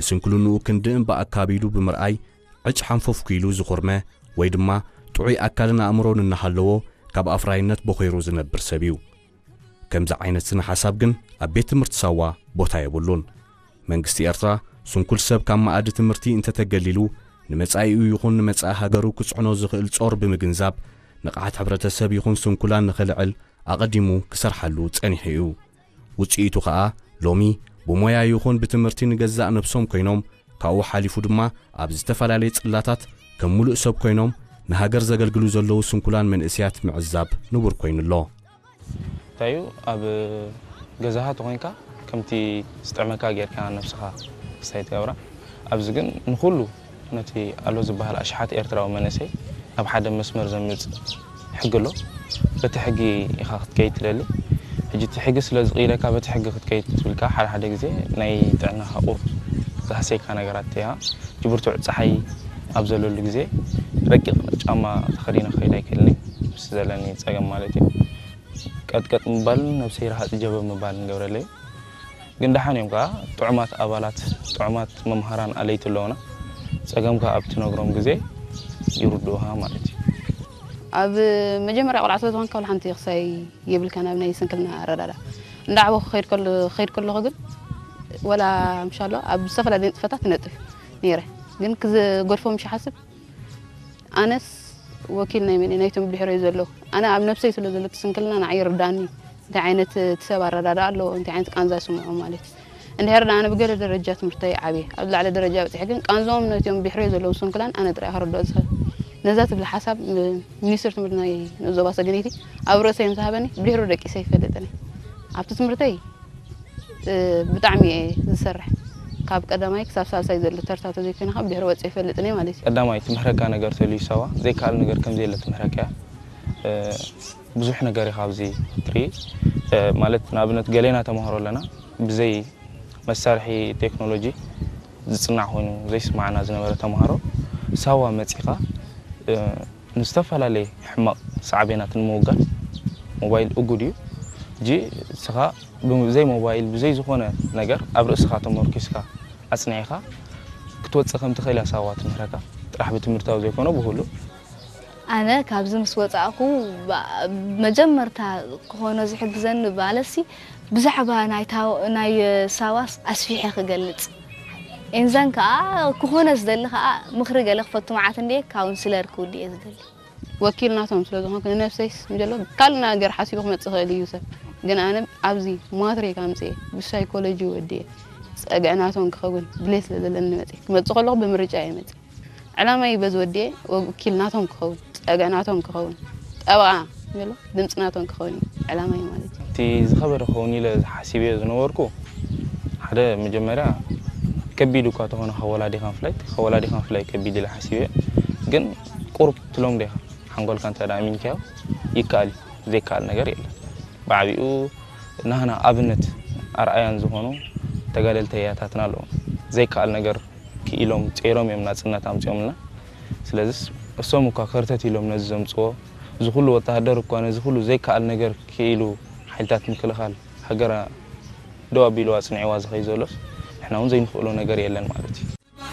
ንስንኩልንኡ ክንዲ እምበኣካ ቢሉ ብምርኣይ ዕጭ ሓንፈፍኩ ኢሉ ዝኹርመ ወይ ድማ ጥዑይ ኣካልን ኣእምሮን እናሃለዎ ካብ ኣፍራይነት በኾይሩ ዝነብር ሰብ እዩ። ከምዚ ዓይነት ስነ ሓሳብ ግን ኣብ ቤት ትምህርቲ ሳዋ ቦታ የብሉን። መንግስቲ ኤርትራ ስንኩል ሰብ ካብ መኣዲ ትምህርቲ እንተተገሊሉ ንመጻኢኡ ይኹን ንመጻኢ ሃገሩ ክጽዕኖ ዝኽእል ጾር ብምግንዛብ ንቕሓት ሕብረተሰብ ይኹን ስንኩላን ንኽልዕል ኣቐዲሙ ክሰርሓሉ ጸኒሑ እዩ። ውጽኢቱ ኸኣ ሎሚ ብሞያ ይኹን ብትምህርቲ ንገዛእ ነብሶም ኮይኖም ካብኡ ሓሊፉ ድማ ኣብ ዝተፈላለየ ጽላታት ከም ሙሉእ ሰብ ኮይኖም ንሃገር ዘገልግሉ ዘለዉ ስንኩላን መንእስያት ምዕዛብ ንቡር ኮይኑ ኣሎ። እንታይ እዩ ኣብ ገዛኻ ተኾይንካ ከምቲ ዝጥዕመካ ጌርካ ነብስኻ ክስታይ ትገብራ። ኣብዚ ግን ንኹሉ ነቲ ኣሎ ዝበሃል ኣሽሓት ኤርትራዊ መንእሰይ ናብ ሓደ መስመር ዘምጽእ ሕጊ ኣሎ። በቲ ሕጊ ኢኻ ክትከይድ ትደሊ። ሕጂ እቲ ሕጊ ስለ ዝቕይደካ በቲ ሕጊ ክትከይድ ትብልካ ሓደ ሓደ ግዜ ናይ ጥዕናኻ ቁሩብ ዝሃስየካ ነገራት እያ። ሕጂ ብርቱዕ ጸሓይ ኣብ ዘለሉ ግዜ ረቂቕ ጫማ ተኸዲነ ክኸይድ ኣይክእልን እየ። ምስ ዘለኒ ጸገም ማለት እዩ። ቀጥቀጥ ምባልን ነብሰይ ረሃጽ ጀበብ ምባልን ገብረለይ። ግን ደሓን እዮም ከኣ ጥዑማት ኣባላት፣ ጥዑማት መምሃራን ኣለይቲ ኣለውና። ጸገምካ ኣብ ትነግሮም ግዜ ይርድኡኻ ማለት እዩ። ኣብ መጀመርያ ቆልዓ ስለ ዝኾንካ ወላ ሓንቲ ክሳይ የብልካን ኣብ ናይ ስንክልና ኣረዳዳ። እንዳዓበኹ ክኸይድ ከሎ ክኸይድ ከለኹ ግን ወላ ምሻሎ ኣብ ዝተፈላለየ ንጥፈታት ይነጥፍ ነይረ። ግን ክዝገድፎ ምሽ ሓስብ ኣነስ ወኪል ናይ መን ናይቶም ብድሕረይ ዘለዉ ኣነ ኣብ ነብሰይ ስለ ዘሎ እቲ ስንክልና ንዓይ ይርዳኒ። እንታይ ዓይነት እቲ ሰብ ኣረዳዳ ኣለዎ እንታይ ዓይነት ቃንዛ ይስምዖ ማለት እዩ። እንድሕር ዳ ኣነ ብገለ ደረጃ ትምህርተይ ዓብየ ኣብ ላዕለ ደረጃ በፅሐ ግን ቃንዞም ነቲኦም ብድሕረይ ዘለዉ ስንኩላን ኣነ ጥራይ ክረድኦ ዝኽእል። ነዛ ትብል ሓሳብ ሚኒስትር ትምህርቲ ናይ ዞባ ሰገነይቲ ኣብ ርእሰይ ምስ ሃበኒ ብድሕሩ ደቂሰ ይፈልጥን ኣብቲ ትምህርተይ ብጣዕሚ እየ ዝሰርሕ። ካብ ቀዳማይ ክሳብ ሳልሳይ ዘሎ ተርታ ተዘይኮይነ ካብ ድሕሪ ወፂ ይፈልጥን እየ ማለት እዩ። ቀዳማይ ትምህረካ ነገር ተልዩ ሰባ ዘይከኣል ነገር ከምዘየለ ትምህረካ እያ። ብዙሕ ነገር ኢኻ ኣብዚ ትርኢ። ማለት ንኣብነት ገሌና ተምሃሮ ኣለና ብዘይ መሳርሒ ቴክኖሎጂ ዝፅናዕ ኮይኑ ዘይስማዕና ዝነበረ ተምሃሮ ሳዋ መፂኻ ንዝተፈላለየ ሕማቕ ሳዕቤናት ንምውጋድ ሞባይል እጉድ እዩ። ሕጂ ንስኻ ብዘይ ሞባይል ብዘይ ዝኾነ ነገር ኣብ ርእስኻ ተመርኪስካ ኣጽኒዕኻ ክትወጽእ ከም ትኽእል እያ ሳዋ ትምህረካ። ጥራሕ ብትምህርታዊ ዘይኮነ ብኹሉ። ኣነ ካብዚ ምስ ወጻእኩ መጀመርታ ክኾኖ ዝሕግዘኒ ባለሲ ብዛዕባ ናይ ሳዋስ ኣስፊሐ ክገልጽ። ኤንዛን ከኣ ክኾነ ዝደሊ ከኣ ምኽሪ ገለ ክፈቱ መዓት እንድየ ካውንስለር ክውድ እየ ዝደሊ። ወኪል ናቶም ስለ ዝኾንኩ ንነብሰይስ ምጀሎ ካልእ ነገር ሓሲቡ ክመጽእ ይኽእል እዩ ሰብ ግን ኣነ ኣብዚ ማትሪክ ኣምጽኤ ብሳይኮሎጂ ወድየ ጸግዒ ናቶም ክኸውን ድሌት ስለ ዘለኒ መጽኤ ክመጽእ ከለኹ ብምርጫ እየ መጽእ ዕላማይ በዚ ወድየ ወኪል ናቶም ክኸውን ጸግዒ ናቶም ክኸውን ጠበቓ ምጀሎ ድምጺ ናቶም ክኸውን እዩ ዕላማይ ማለት እዩ። እቲ ዝኸበደ ክኸውን ኢለ ሓሲበዮ ዝነበርኩ ሓደ መጀመርያ ከቢድ እኳ ተኾነ ካብ ወላዲኻ ምፍላይ ካብ ወላዲኻ ምፍላይ ከቢድ ኢለ ሓሲበዮ ግን ቁሩብ ትለምዶ ኢኻ ሓንጎልካ እንተ ኣሚንካዮ ይከኣል እዩ ዘይከኣል ነገር የለን ብዓቢኡ ናህና ኣብነት ኣርኣያን ዝኾኑ ተጋደልቲ ኣያታትና ኣለዉ ዘይከኣል ነገር ክኢሎም ጸይሮም እዮም ናጽነት ኣምጺኦምልና ስለዚስ እሶም እኳ ከርተት ኢሎም ነዚ ዘምጽዎ እዚ ኩሉ ወተሃደር እኳ ነዚ ኩሉ ዘይከኣል ነገር ክኢሉ ሓይልታት ምክልኻል ሃገራ ደው ኣቢልዋ ኣጽኒዕዋ ዝኸይ ዘሎስ ንሕና እውን ዘይንኽእሎ ነገር የለን ማለት እዩ።